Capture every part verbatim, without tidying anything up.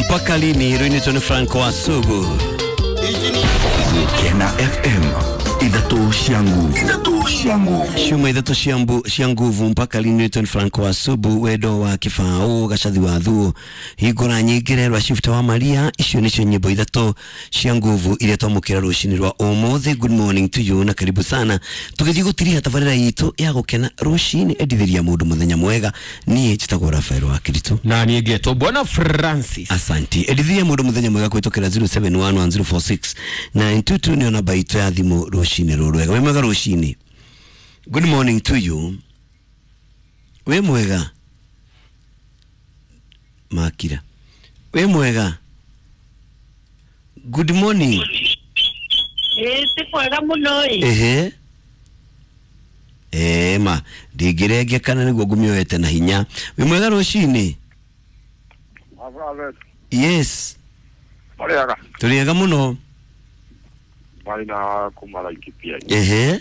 Mpaka lini rwinitwo ni Franco Wasugu. Gukena F M ithatu cia nguvu, ithatu cia nguvu, ciuma ithatu cia mbu cia nguvu. Mpaka lini rwinitwo ni Franco Wasugu, wendo wa kibao gacathi wa thuo hingura nyingire rwa Shifta wa Maria. Icio nicio nyimbo ithatu cia nguvu iria twamukira rucini rwa umuthi. Good morning to you na karibu sana tugithii gutiriha tabarira itu ya gukena rucini. Endithiria mundu muthenya mwega. Nie njitagwo Rafael wa Kiritu na nie ngetwo Bwana Francis. Asanti. Endithiria mundu muthenya mwega kwitukira zero seven one one zero four six nine two two nio namba itu ya thimu rucini ruru wega. Wi mwega rucini. Good morning to you. Wi mwega makira. Wi mwega. Good morning. Eh, ti mwega muno ĩ. Ehe. Eh, ma ndingĩrenge kana nĩguo ngũmĩoete na hinya. Wi mwega rũcinĩ. Yes. Mũrĩega. Tũrĩega mũno. Marĩ na kuma Laikipia. Ehe.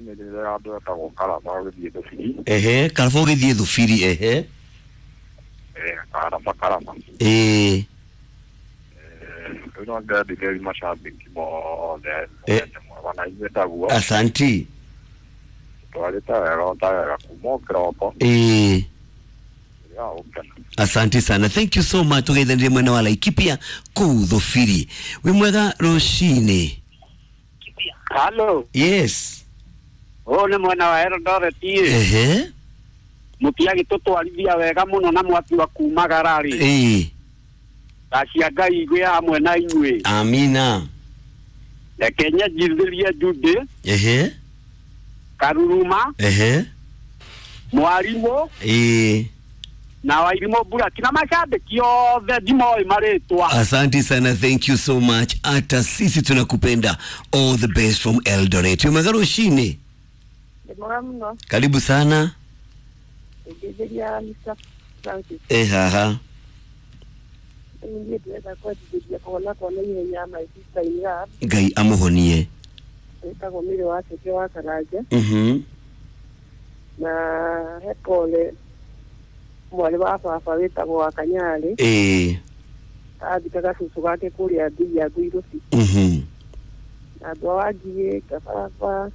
Nĩ ndĩrera andũ etagwo Karaba ũgĩthiĩ Thubiri. Ehe, Karaba ũgĩthiĩ Thubiri, ehe. Eh, Karaba Karaba. Eh. Rĩu no ndendithĩrie macambĩki mothe Eh. mũthenya mwega na inyuĩ taguo. Asanti. Twarĩte wega ta wega kuma o kĩroko. Eh. Ya gũkena. Asante sana. Thank you so much. Tugeithanirie mwena wa Laikipia kũu Thubiri. Wĩ mwega rũcinĩ. Halo. Yes. Ũyũ nĩ mwena wa Eldoret ĩ. Ehe. Mũtiagĩtũtwarithia wega mũno na mwatua kumagara rĩ. Eh. Tha cia Ngai igwĩ hamwe na inyuĩ. Amina. Reke nyanjithĩrie Judy. Ehe. Karuruma. Ehe. Mwarimũ. Eh. Na Wairimũ Buraki na mashabiki othe ndimoĩ marĩtwa. Asante sana, thank you so much. Hata sisi tunakupenda. All the best from Eldoret. Wĩ mwega rũcinĩ. Ndĩ mwega mũno. Karibu sana. Ndĩgeria Mister Francis. Eh, haha. Niĩ ndĩrenda kwendithĩria kũhona kwa naihenya my sister in love. Ngai amũhonie. Wĩtagwo Mary wa Ceke wa Karanja. Mhm. Na he pole mwarĩ wa baba wĩtagwo wa Kanyarĩ. Eh. Athikaga cũcũ gake kũrĩa Ngiya Ngũirũbi. Mhm. Na andũ a Wangigĩ, Kababa,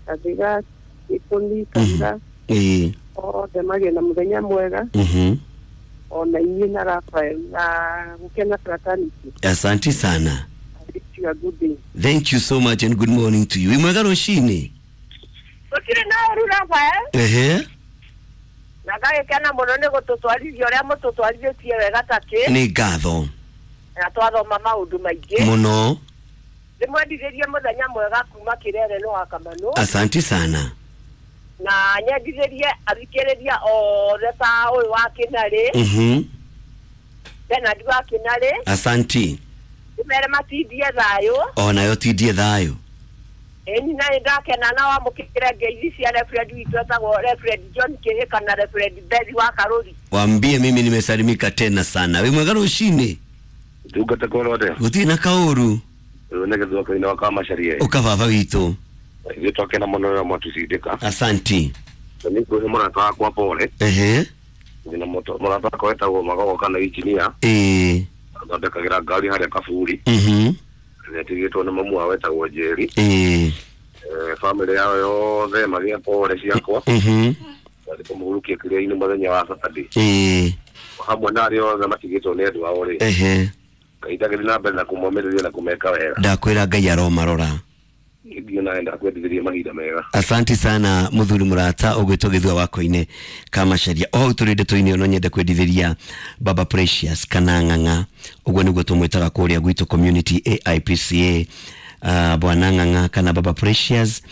Gathiga, Gĩkũni, Kanitha. Eh. Othe magĩe na mũthenya mwega. Mhm. Ona inyuĩ na Rafael na gũkena fraternity. Asante sana. I wish you a good day. Thank you so much and good morning to you. Wĩ mwega rũcinĩ. Gũtirĩ na ũru Rafael. Ehe. Na ngagĩkena mũno nĩ gũtũtwarithia ũrĩa mũtũtwarithĩtie wega ta kĩ. Nĩ ngatho. Na twathoma maũndũ maingĩ. Mũno. Ndĩmwendithĩrie mũthenya mwega kuma Kĩrere no wa Kamanũ. Asante sana. Na nyendithĩrie athikĩrĩria othe ta ũyũ wa Kĩnarĩ. Mhm. Bernard wa Kĩnarĩ. Asanti. Ndĩmere matindie thayũ. Onayo tindie thayũ. Ĩni na nĩ ndakena na wamũkĩre ngeithi cia Reverend witũ etagwo Reverend John Kĩhĩka na Reverend Bethi wa Karũri. Waambie mimi nimesalimika tena sana. Wĩ mwega rũcinĩ. Ndungata korode. Gũtirĩ na kaũru. Rĩu nĩ gĩthũka-inĩ wa Kamacaria. Ũka baba witũ. Ithuĩ twakena mũno rĩrĩa mwatũcindĩka. Asanti. Na nĩ ngwĩhe mũrata wakwa pole. Ehe. Ndĩna mũrata wakwa wetagwo Magogo kana injinia. Eh. Athondekagĩra ngari harĩa Kaburi. Mhm. Nĩatigĩtwo nĩ mamu wao wetagwo Njeri. Eh. Bamĩrĩ yao yothe magĩe pole ciakwa. Mhm. Mathiĩ kũmũhurukia kĩrĩa-inĩ mũthenya wa Saturday. Eh. Hamwe na arĩa othe matigĩtwo nĩ andũ ao rĩ. Ehe. Ngai ndagĩthiĩ na mbere na kũmomĩrĩria na kũmeka wega. Ndakwĩra Ngai aromarora. Ndio naenda kwendithĩria mahinda mega. Asante sana muthuri murata ũgwĩtwo Gĩthua Wakoine Kamacaria. O hau tũrĩ ndeto-inĩ no nyende kwendithĩria Baba Precious kana Ng'ang'a, ũguo nĩguo tũmwĩtaga kũrĩa gwitũ community A I P C A. Uh, Bwana Ng'ang'a kana Baba Precious,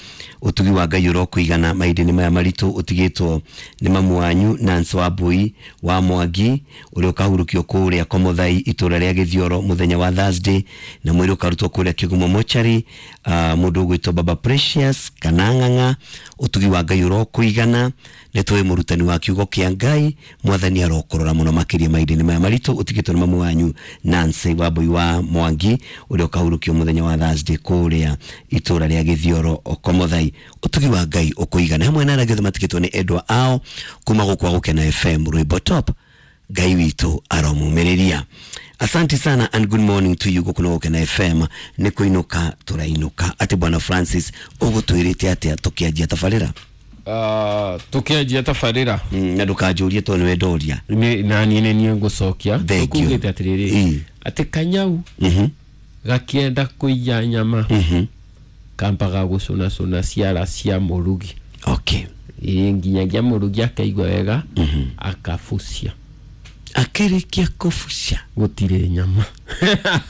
ũtugi wa Ngai ũrokũigana mahinda-inĩ maya maritũ ũtigĩtwo nĩ mamu wanyu Nancy Wambui wa Mwangi ũrĩa ũkahurũkio kũrĩa Komothai itũra rĩa Gĩthioro mũthenya wa Thursday, na mwĩrĩ ũkarutwo kũrĩa Kĩgumo mochari. Uh, mũndũ ũgwĩtwo Baba Precious kana Ng'ang'a, ũtugi wa Ngai ũrokũigana. Nĩ tũĩ mũrutani wa kiugo kĩa Ngai, mwathani arokũrora mũno makĩria mahinda-inĩ maya maritũ ũtigĩtwo nĩ mamu wanyu Nancy Wambui wa Mwangi ũrĩa ũkahurũkio mũthenya wa Thursday kũrĩa itũra rĩa Gĩthioro Komothai. Ũtugi wa Ngai ũkũigana hamwe na arĩa othe matigĩtwo nĩ endwa ao kuma gũkũ Gũkena F M Rwĩmbo Top. Ngai witũ aromumĩrĩria. Asante sana and good morning to you. Gũkũ nĩ Gũkena F M nĩ kũinũka tũrainũka. Atĩ Bwana Francis ũgũtwĩrĩte atĩa tũkĩanjia tabarĩra? Uh, tukianjia tabarĩra mm, na ndũkanjũrie tondũ nĩwe ndoria. Na niĩ nĩ niĩ ngũcokia. Tũkugĩte atĩrĩrĩ atĩ kanyau mm-hmm. gakienda kũiya nyama mm-hmm. kambaga gũcũnacũna ciara cia mũrugi. Okay. Ĩ nginyagia mũrugi akaigua wega mm-hmm. akabucia. Akĩrĩkia kũbucia gũtirĩ nyama.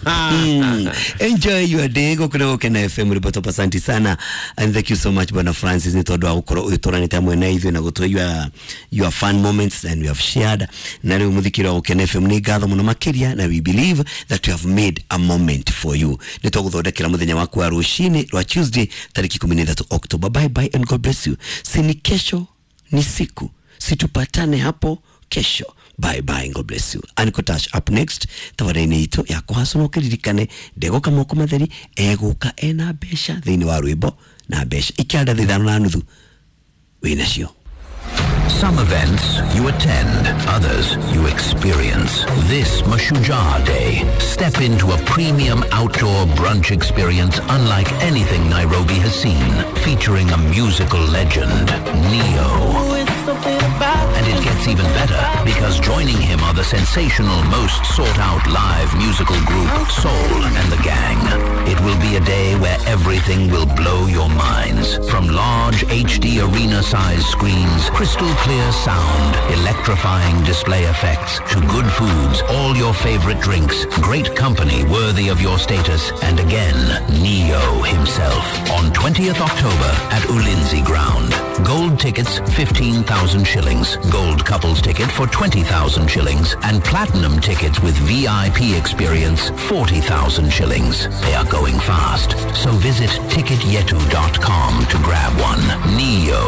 Mm. Enjoy your day. Gũkũ nĩ Gũkena F M Riboto. Asante sana and thank you so much Bwana Francis nĩ tondũ wa gũkorwo ũtũranĩte hamwe na ithuĩ na gũtũhe your, your fun moments and we have shared. Na rĩu mũthikĩri wa Gũkena F M nĩ ngatho mũno makĩria, na we believe that we have made a moment for you. Nĩ tũgũthondekera mũthenya waku wa rũcinĩ rwa Tuesday tarĩki ikũmi na ithatũ October. Bye bye and God bless you. Si ni kesho ni siku, situpatane hapo kesho. Bye bye, God bless you. Anikotash up next tabarĩinĩ itũ ya kũhacwo no kĩririkane ndegoka moko matheri egũka ena mbeca thĩinĩ wa rwĩmbo na mbeca ikĩanda thaa ithano na nuthu wĩnacio. Some events you attend, others you experience. This Mashujaa Day, step into a premium outdoor brunch experience unlike anything Nairobi has seen, featuring a musical legend, Neo. And it gets even better, because joining him are the sensational, most sought-out live musical group, Soul and the Gang. It will be a day where everything will blow your minds. From large H D arena-sized screens, crystal clear sound, electrifying display effects, to good foods, all your favorite drinks, great company worthy of your status, and again, Neo himself. On twentieth October at Ulinzi Ground. Gold tickets, fifteen thousand shillings. Gold couples ticket for twenty thousand shillings. And platinum tickets with V I P experience, forty thousand shillings. They are going fast. So visit ticket yetu dot com to grab one. Neo.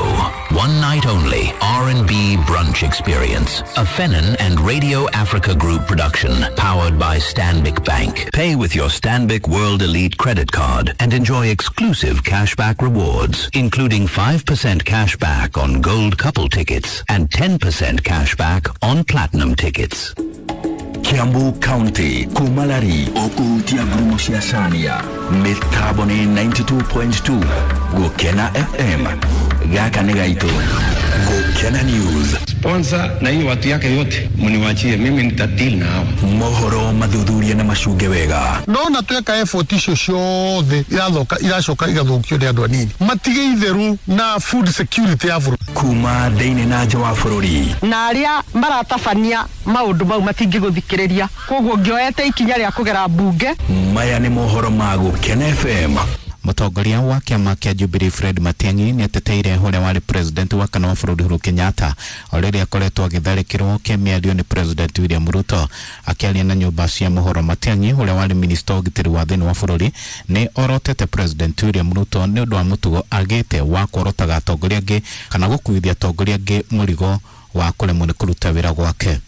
One night only. R and B brunch experience. A Fenin and Radio Africa Group production. Powered by Stanbic Bank. Pay with your Stanbic World Elite credit card and enjoy exclusive cashback rewards, including five percent cashback on gold couple tickets and ten percent cashback on platinum tickets. Kiambu County, Kumalari, Okuhutia ngurumo cia Cania, mĩtambo nĩ ninety-two point two, Gũkena F M, gaka nĩ gaitũ, Gũkena News. Sponsor na hiyo watu yake yote mniwachie, mimi nitadeal na hawa. Mohoro mathuthuria na macunge wega. Ndona tweka effort icio ciothe irathoka iracoka igathũkio nĩ andũ anini. Matige itheru na food security ya bũrũri. Kuma thĩinĩ na nja wa bũrũri. Na arĩa maratabania maũndũ mau matingĩgũthikĩrĩria. Koguo ngĩoete ikinya rĩa kũgera mbunge. Maya nĩ mohoro ma Gũkena F M. Mũtongoria wa kĩama kĩa Jubilee Fred Matiang'i nĩateteire ũrĩa warĩ president wa kana wa bũrũri Uhuru Kenyatta o rĩrĩa akoretwo agĩtharĩkĩrwo kĩmĩario nĩ president William Ruto. Akĩaria na nyũmba cia mohoro, Matiang'i ũrĩa warĩ minista wa ũgitĩri wa thĩinĩ wa bũrũri nĩ orotete president William Ruto nĩ ũndũ wa mũtugo agĩte wa kuorotaga atongoria angĩ kana gũkuithia atongoria angĩ mũrigo wa kũremwo nĩ kũruta wĩra gwake.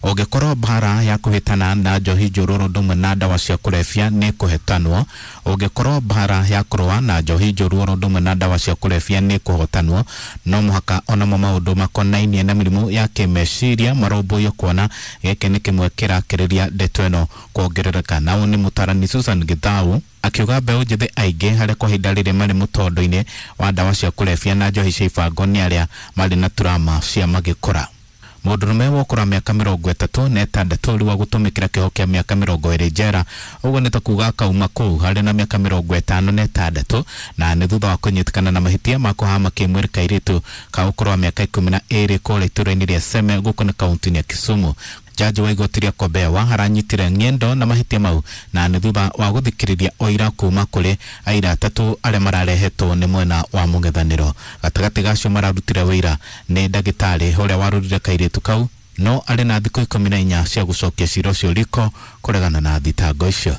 Ũngĩkorwo mbara ya kũhĩtana na njohi njũru ũndũ ũmwe na ndawa cia kũrebia nĩ kũhetanwo. Ũngĩkorwo mbara ya kũrũa na njohi njũru ũndũ ũmwe na ndawa cia kũrebia nĩ kũhotanwo, no mũhaka onamo maũndũ makonainie na mĩrimũ ya kĩmeciria marũmbũiyo, kuona gĩkĩ nĩ kĩmwe kĩrakĩrĩria ndeto ĩno kuongerereka. Nao nĩ mũtarani Susan Githau akiuga mbeũ njĩthĩ aingĩ harĩa kwa ihinda rĩrĩ marĩ mũtondo-inĩ wa ndawa cia kũrebia na njohi cia ibango nĩ arĩa marĩ na turama cia magĩkũra. Mũndũrũme wa ũkũrũ wa mĩaka mĩrongo ĩtatũ na ĩtandatũ rĩu agũtũmĩkĩra kĩoho kĩa mĩaka mĩrongo ĩrĩ njera, ũguo nĩ ta kuga akauma kũu harĩ na mĩaka mĩrongo ĩtano na ĩtandatũ, na nĩ thutha wa kũnyitĩkana na mahĩtia ma kũhama kĩmwĩrĩ kairĩtu ka ũkũrũ wa mĩaka ikũmi na ĩrĩ kũrĩa itũũra-inĩ rĩa Seme gũkũ nĩ kaũntĩ-inĩ ya Kisumu. Jaji wa igoti rĩa Kombewa aranyitire ng'endo na mahĩtia mau, na nĩ thutha wa gũthikĩrĩria ũira kuma kũrĩ aira atatũ arĩa mararehetwo nĩ mwena wa mũng'ethanĩro. Gatagatĩ gacio mararutire wĩira nĩ ndagĩtarĩ ũrĩa warũrire kairĩtu kau, no arĩ na thikũ ikũmi na inya cia gũcokia cira ũcio riko kũregana na thitango icio.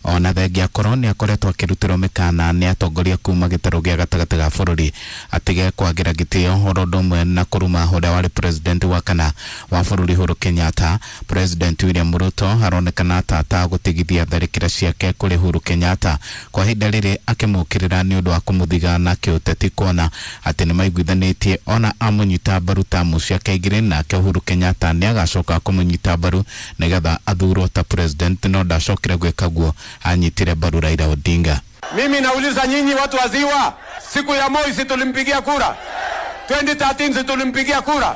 Ona thengia akorwo nĩ akoretwo akĩrutĩrwo mĩkana nĩ atongoria kuma gĩtarũ gĩa gatagatĩ ga bũrũri atige kwagĩra gĩtĩo oro ũndũ ũmwe na kũruma ũrĩa warĩ president wa kana wa bũrũri Uhuru Kenyatta. President William Ruto aronekana ta atagũtigithia tharĩkĩra ciake kũrĩ Uhuru Kenyatta kwa ihinda rĩrĩ akĩmũkĩrĩra nĩ ũndũ wa kũmũthiga na kĩũteti kuona atĩ nĩ maiguithanĩtie ona amũnyita mbaru tamu ciake igĩrĩ nake Uhuru Kenyatta nĩ agacoka kũmũnyita mbaru nĩgetha athurwo ta president no ndacokire gwĩka guo anyitire mbaru Raila Odinga. Mimi nauliza nyinyi watu wa Ziwa, siku ya Moi si tulimpigia kura? twenty thirteen si tulimpigia kura?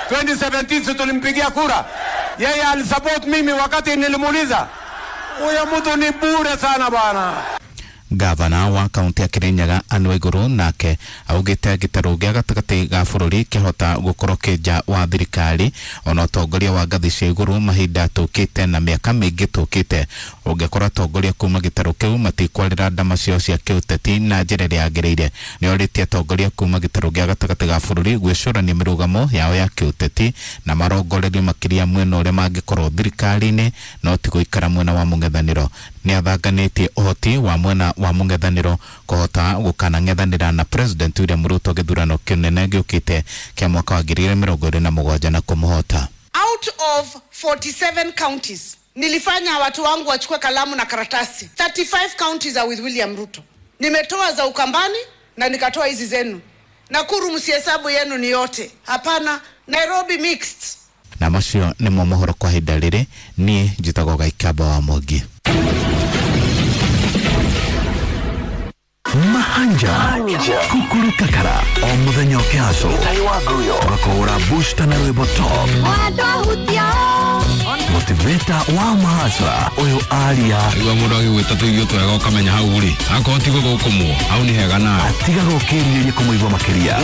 twenty seventeen si tulimpigia kura? Yeye alisupport mimi wakati nilimuuliza. Huyo mtu ni bure sana bwana. Gavana wa kaunti ya Kirinyaga Anne Waiguru nake augite gĩtarũ gĩa gatagatĩ ga bũrũri kĩhota gũkorwo kĩ nja wa thirikari ona ũtongoria wa ngathĩ cia igũrũ mahinda tũkĩte na mĩaka mĩingĩ tũkĩte ũngĩkorwo atongoria kuma gĩtarũ kĩu matikwarĩra ndama ciao cia kĩũteti na njĩra ĩrĩa yagĩrĩire. Nĩorĩtie atongoria kuma gĩtarũ gĩa gatagatĩ ga bũrũri gwĩcũrania mĩrũgamo yao ya kĩũteti na marongorerio makĩria mwena ũrĩa mangĩkorwo thirikari-inĩ no ti gũikara mwena wa mũng'ethanĩro. Nĩathanganĩtie ũhoti wa mwena wa mũng'ethanĩro kũhota gũkanang'ethanĩra na President William Ruto gĩthurano kĩnene gĩũkĩte kĩa mwaka wa ngiri igĩrĩ mĩrongo ĩrĩ na mũgwanja na kũmũhota. Out of forty-seven counties nilifanya watu wangu wachukue kalamu na karatasi. thirty-five counties are with William Ruto. Nimetoa za Ukambani na nikatoa hizi zenu. Nakuru msihesabu yenu ni yote. Hapana, Nairobi mixed. Na macio nĩmo mohoro kwa ihinda rĩrĩ. Niĩ njĩtagwo Gaikamba wa Mwangi. Mahanja Kukuru Kakara o muthenya ũkĩhaco tũgakũhũra booster na rwĩmbo top motivator wa mahasra ũyũ aria igua mũndũ agĩgwĩta tũirio twega ũkamenya hau rĩ akorwo ti gũgũkũmwo hau nĩ hega nawe atigaga ũkĩrirĩria kũmũigua makĩria.